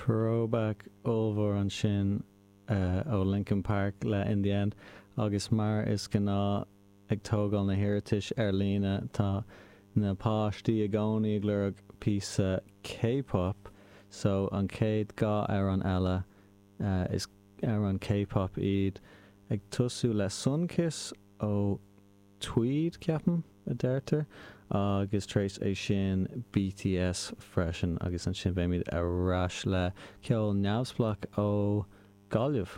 Throwback ollmhór ansin ó Linkin Park le In The End agus mar is gnáth ag tógáil na hiarratais ar líne tá na páistí i gcónaí ag lorg píosa K-pop so an chéad 2 amhrán eile is amhráin K-pop iad ag tosú le Sunkissed ó Tweed, ceapaim, a deirtear, agus tar éis é sin BTS freisin agus ansin beimid ar ais le ceol neamhspleách ó Gaillimh.